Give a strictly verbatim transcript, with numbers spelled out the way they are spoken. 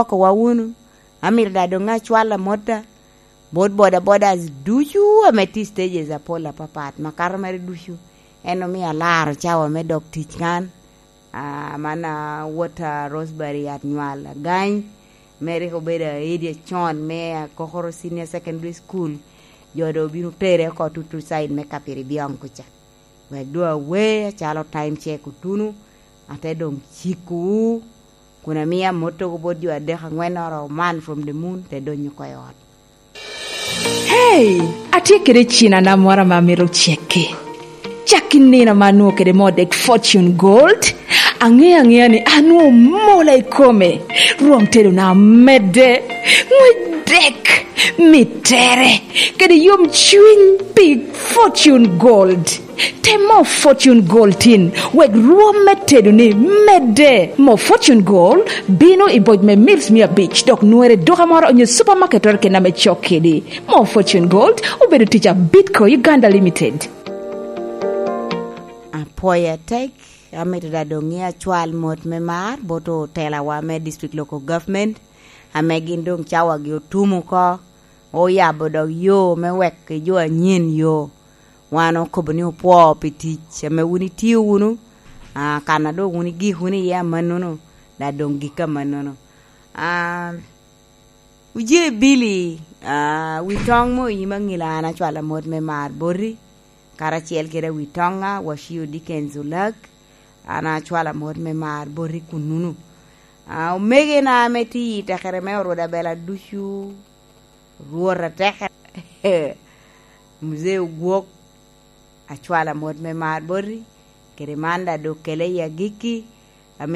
okowa wunu. Amito daŋ doŋ acwal amotta bot bodabodas ducu ame tye i stages apol apapat, makato mere ducu. En omio alaro cawa me dok tic kan. Ah, man, ah, wot, ah, Rosemary Atnywal Agany, me rik obedo aedi acon me Akokoro Senior Secondary School. Jo doŋ obino tere oko tutu side me Kapiribyong kuca. Wek doŋ awe acalo time check otuno, ate doŋ cikwu, kun amio amotogo bot jo adek aŋwennoro man from the moon, te donyo oko i ot. Hey, atye kede cinana moro ame amito cekki. Cak i nino ame anwoŋo kede moo dek Fortune Gold. Aŋeyo aŋeya ni anwoŋo mola i kome. Rwom tedona medde. Ŋwec dek, mittere, kede yom cwiny pi Fortune Gold. Tem moo Fortune Gold tin, wek rwom me tedoni medde. Moo Fortune Gold bino i boc me mils mia abic, dok nwere i duka moro onyo supamaket keken ame cok kedi. Moo Fortune Gold obedo tic a Bitco Uganda Limited. Apwoyo atek, amito daŋ doŋ ni acwal mot me mar bot otelawa me District Local Government, ame gin doŋ cawagi otum oko, oyabo dok yo me wek jo anyen yo. Wan okobo ni opwoo pi tic ame wun itio wunu, ah, kan a doŋ wun igik wunu iye amannono, daŋ doŋ gik amannono. Ah, Ojee Billy, ah, wi toŋ mo i nyim aŋila an acwalo amot me mar boti, karacel kede awi toŋa, Wacio Dickens Olak, an acwalo amot me mar boti kunnuno. Ah, omegena ame tye i tekere me Orwod Abela ducu, Rwot atekere, Muzee Ogwok, acwalo amot me mar boti, kede man daŋ doŋ kele i agikki,